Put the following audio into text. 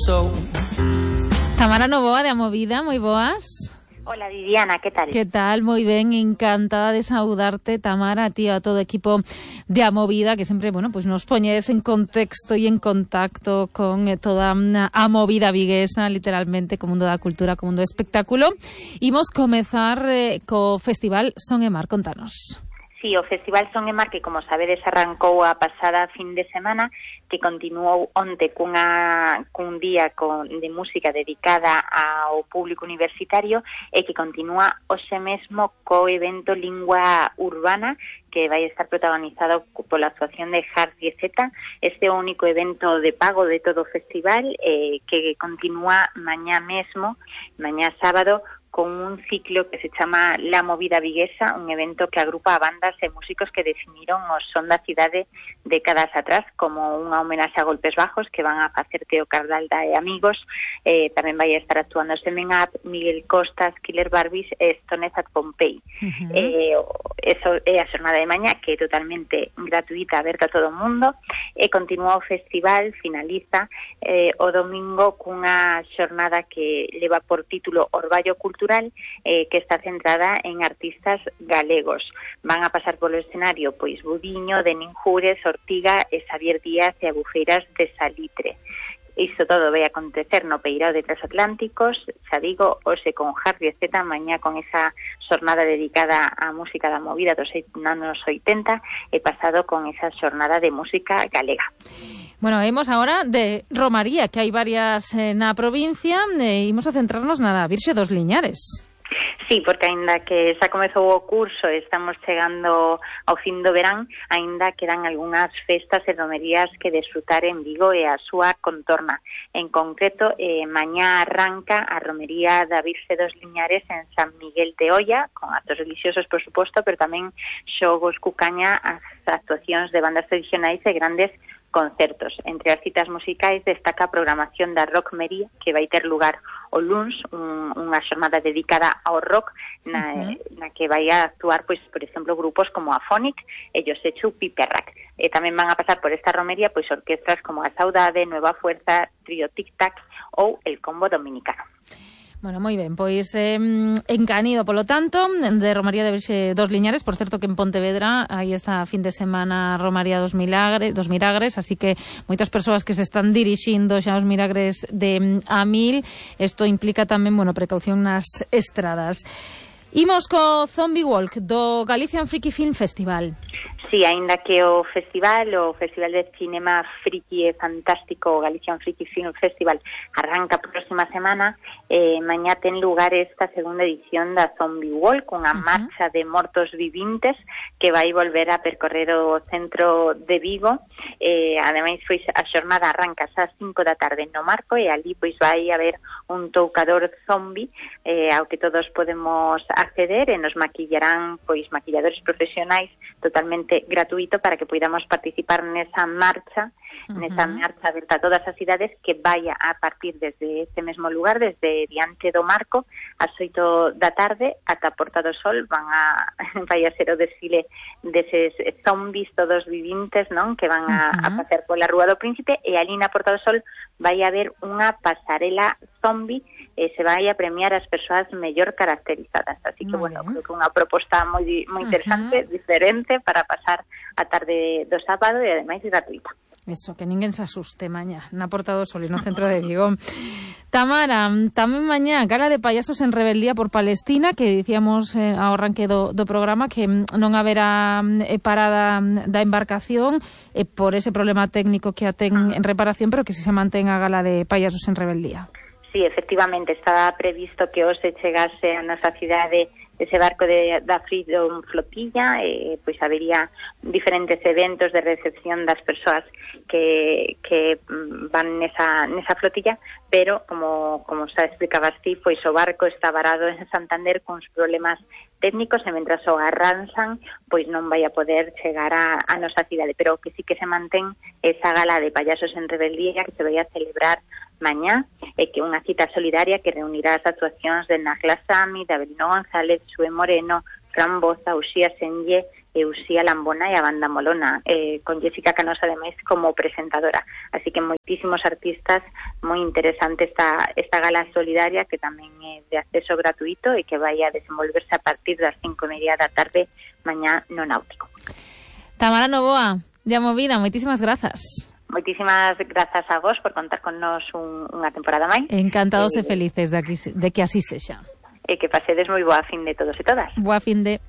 so. Tamara Novoa de Amovida, moi boas. Hola Viviana, ¿qué tal? ¿Qué tal? Moi ben, encantada de saudarte, Tamara, a ti, a todo o equipo de Amovida, que sempre, bueno, pues nos poñes en contexto e en contacto con toda a movida viguesa, literalmente, co mundo da cultura, co mundo do espectáculo. Imos comezar co Festival Son e Mar, contanos. Sí, o Festival Son e Mar, que como sabedes arrancou a pasada fin de semana, que continuou onte cun día de música dedicada ao público universitario e que continúa hoxe mesmo co evento Lingua Urbana, que vai estar protagonizado pola actuación de Hard Zeta. Este é o único evento de pago de todo o festival que continúa mañá mesmo, mañá sábado, con un ciclo que se chama La Movida Viguesa, un evento que agrupa a bandas e músicos que definiron o son da cidade décadas atrás, como unha homenaxe a Golpes Bajos, que van a facer Teo Cardalda e amigos. Tamén vai a estar actuando Semen Up, Miguel Costas, Killer Barbies e Stones at Pompei. Eso é a xornada de mañá, que é totalmente gratuita, aberta a todo o mundo, e continúa o festival, finaliza o domingo cunha xornada que leva por título Orballo Cultural, que está centrada en artistas galegos. Van a pasar polo escenario pois Budiño, Denín Jures, Ortiga e Xavier Díaz e Abufeiras de Salitre. Isto todo vai acontecer no Peirao de Transatlánticos, xa digo, hoxe con Harry Zeta, mañá con esa xornada dedicada á música da movida dos anos 80 e pasado con esa xornada de música galega. Bueno, vemos ahora de Romaría, que hai varias na provincia, e imos a centrarnos na Virxe dos Liñares. Sí, porque aínda que xa comezou o curso, estamos chegando ao fin do verán, aínda quedan algunhas festas e romerías que desfrutar en Vigo e a súa contorna. En concreto, mañá arranca a romería da Virxe dos Liñares en San Miguel de Olla, con actos religiosos, por suposto, pero tamén xogos, cucaña, as actuacións de bandas tradicionais e grandes concertos. Entre as citas musicais destaca a programación da Rockmería, que vai ter lugar o luns, unha xornada dedicada ao rock, na que vai a actuar, pois, por exemplo, grupos como Afonic e Josechu Piperrac. E tamén van a pasar por esta romería pois orquestras como a Saudade, Nueva Fuerza, Trío Tic Tac ou el Combo Dominicano. Bueno, moi ben, pois encanido, polo tanto, de Romaría de Virxe dos Liñares. Por certo que en Pontevedra hai esta fin de semana Romaría dos Milagres, así que moitas persoas que se están dirixindo xa aos Milagres de Amil. Isto implica tamén, bueno, precaución nas estradas. Imos co Zombie Walk do Galician Freaky Film Festival. Sí, aínda que o Festival de Cinema Friki e Fantástico, o Galician Freaky Film Festival, arranca a próxima semana, mañá ten lugar esta segunda edición da Zombie Walk, unha marcha de mortos vivintes que vai volver a percorrer o centro de Vigo. Ademais, pois, a xornada arranca ás 5 da tarde no Marco e ali pois vai haber un toucador zombie ao que todos podemos acceder e nos maquillarán pois maquilladores profesionais totalmente gratuito para que podamos participar nesa marcha aberta a todas as cidades, que vaya a partir desde este mesmo lugar, desde diante do Marco, ás 8 da tarde ata Porta do Sol. Vai a ser o desfile deses zombies todos vivintes, non, que van a pasear pola Rúa do Príncipe, e ali na Porta do Sol vai haber unha pasarela zombie e se vai a premiar as persoas mellor caracterizadas. Así que, bueno, creo que unha proposta moi interesante, diferente, para pasar a tarde do sábado e ademais gratuita. Eso, que ninguén se asuste mañá na Porta do Sol e no centro de Vigo. Tamara, tamén mañá gala de payasos en rebeldía por Palestina, que dicíamos ao arranque do programa que non haberá parada da embarcación por ese problema técnico que a ten en reparación, pero que se mantén a gala de payasos en rebeldía. Sí, efectivamente, estaba previsto que hoxe chegase a nosa cidade ese barco da Freedom Flotilla, pois habería diferentes eventos de recepción das persoas que van nesa flotilla, pero como xa explicabas ti, pois o barco está varado en Santander con problemas técnicos e mentras o arranxan, pois non vai a poder chegar a nosa cidade, pero que sí que se mantén esa gala de payasos en rebeldía que se vai a celebrar mañá, e que unha cita solidaria que reunirá as actuacións de Nagla Sami, de Abelino González, Xue Moreno, Fran Boza, Uxía Senlle, e Uxía Lambona e a Banda Molona, con Jessica Canosa ademais como presentadora. Así que moitísimos artistas, moi interesante esta gala solidaria que tamén é de acceso gratuito e que vai a desenvolverse a partir das 5:30 da tarde mañá no Náutico. Tamara Novoa, de A Movida, moitísimas grazas. Moitísimas grazas a vos por contar con nos unha temporada máis. Encantados e felices de que así sexa. E que pasedes moi boa fin de todos e todas. Boa fin de...